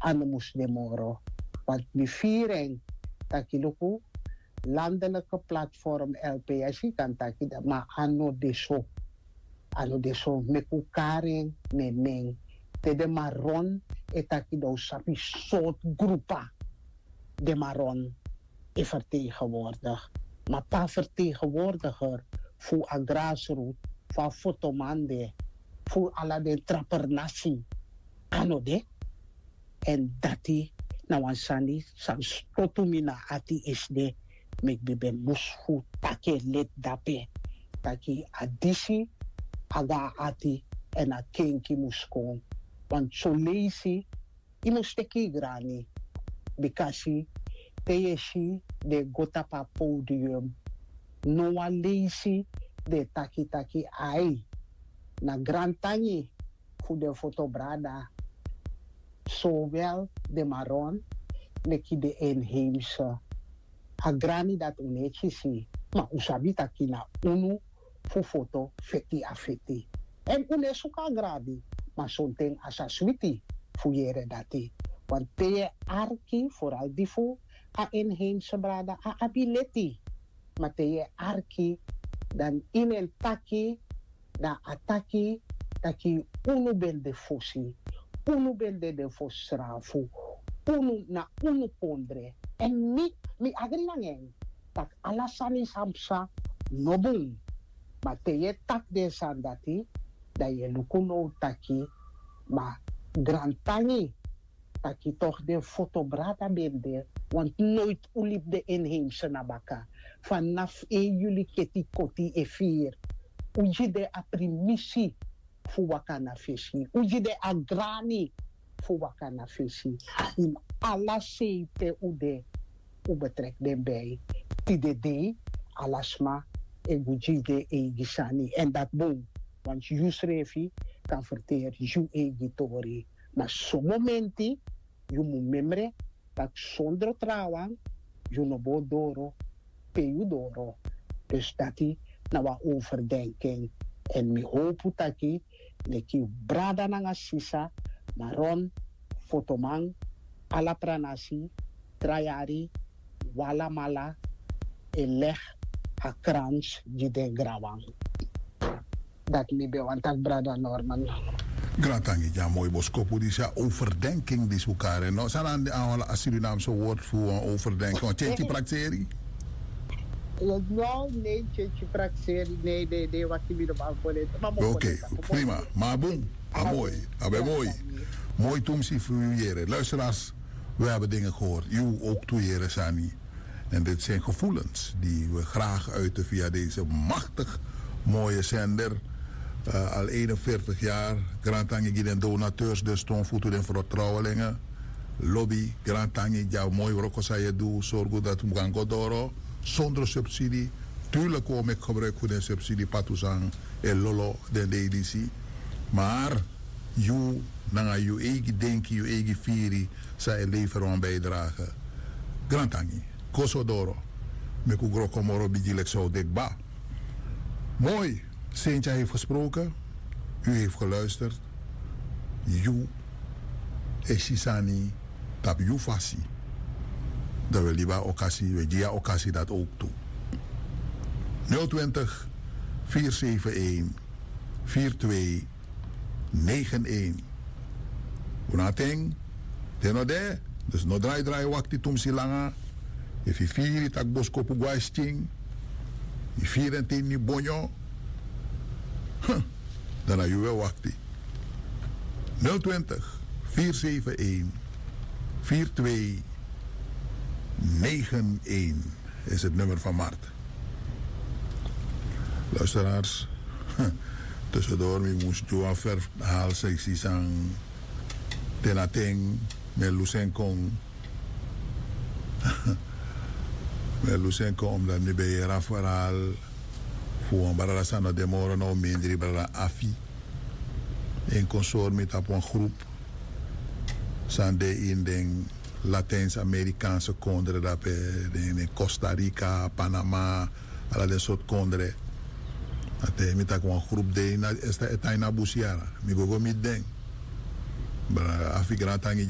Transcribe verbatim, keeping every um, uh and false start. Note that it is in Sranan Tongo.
a no mus de moro. Want mi firi en taki luku, landelijke platform lps kan taki dat, maar a no de so. A no de so. Meki un kari en na en nen. Te den maron e taki dan un sabi sortu grupa den maron e vertegenwoordig. Ma pe a vertegenwoordiger fu a grassroot, fu a fotoman de, fu ala den trapernasi, a no de. Èn dati na wan sani san stotu mi na ati esde. Meki mi ben mus fu taki en leti dape, taki a disi a go na ati, èn a kenki mus kon. Want son leisi yu mus teki yu grani. Bikasi te yu e si den e go tapu a podium, no wan leisi den e taki taki ai, na grantangi fu den foto brada, sowel den maron leki den inheimse. A grani dati un no e kisi, ma un sabi taki na unu fu foto feti a feti. Èn un no e suku a grani, ma sonten a sa switi fu yere dati. Want te yu e arki, foral di fu a inheimse brada, a abi leti. Ma te yu e arki, dan ini en taki, dan a taki taki unu ben de fosi, unu ben de den fosi srafu, unu na unu kondre. Èn mi, mi agri nanga en taki ala sani san psa no bun. Ma te yu e taki den sani dati, dan yu e luku now taki, ma grantangi taki toch den foto brada ben de, want noiti un libi den inheimse na baka. Fanafu en yuli keti koti e firi, un gi den a primisi fu waka na fesi, un gi den a grani fu waka na fesi. Ini ala sei pe un de, un betreki den bij. Tide dei ala sma e go gi den eigi sani, èn dati bun. Want yu srefi kan ferteri yu eigi tori. Ma son momenti yu mus memre taki sondro trawan yu no bo doro pe yu doro. Dus dati na wan overdenking. Èn mi howpu taki leki brada nanga sisa, maron, fotoman, ala pranasi, tra yari, un alamala e legi a krans gi den granwan. Dati mi ben wani taki, brada Norman. Grantangi gi a moi boskopu disi, a overdenking disi un kari. No, san na a Surinaamse woord fu wan overdenking? Wan tyentyi prakseri? No, nee, tyentyi prakseri, nee, nee, nee, wakti mi no man kon leti. Ma mi o kon leti. Oké, prima. Ma a bun, a moi, a ben moi. Moi tumsi fu yu yere. Luisteraars, we hebben dingen gehoord. U ook toe, yere sani. En dit zijn gevoelens die we graag uiten via deze machtig mooie zender. Eh, al eenenveertig jaar. Grantangi gi den donateurs, den stonfutu, den vertrouwelingen. Lobi, grantangi gi a moi wroko san yu e du, sorgu dati un kan go doro sondro subsidi. Tuurlijk, un o meki gebruik fu den subsidi, patu san e lolo den dei disi. Maar yu nanga yu eigi denki, yu eigi firi, san e lever wan bijdrage. Grantangi, go so doro. Meki un gro kon moro bigi leki san un de kba. Moi, Sentia heeft gesproken. U heeft geluisterd. Yu e si sani tapu yu fasi. Dan we libi a okasi, we gi a okasi dati ook tu. Nul twintig, vier zeven een, vier twee negen een. Un no abi ten, ten no de, dus no drai drai wakti tumsi langa. Efu yu firi tak' boskopu go na skin, yu firi en te ini bonyo, huh, dan na yu un e wakti. Nul twintig, vier zeven een, vier twee negen een is het nummer van Mart. Luisteraars, tussendoor mi mus du wan verhaal san yu si san te na ten mi e lusu en kon. Mi e lusu en kon omdat mi ben yere a verhaal fu wan brada san no de moro now, mindri brada Afi. En kon sori mi tapu wan groep san de ini den Latijns-Amerikaanse kondre dape, den, den Costa Rica, Panama, ala den sortu kondre. A taigi mi tak' wan groep de ini a, e tan ini a busi yara. Mi go go miti den. Brada Afi, grantangi gi a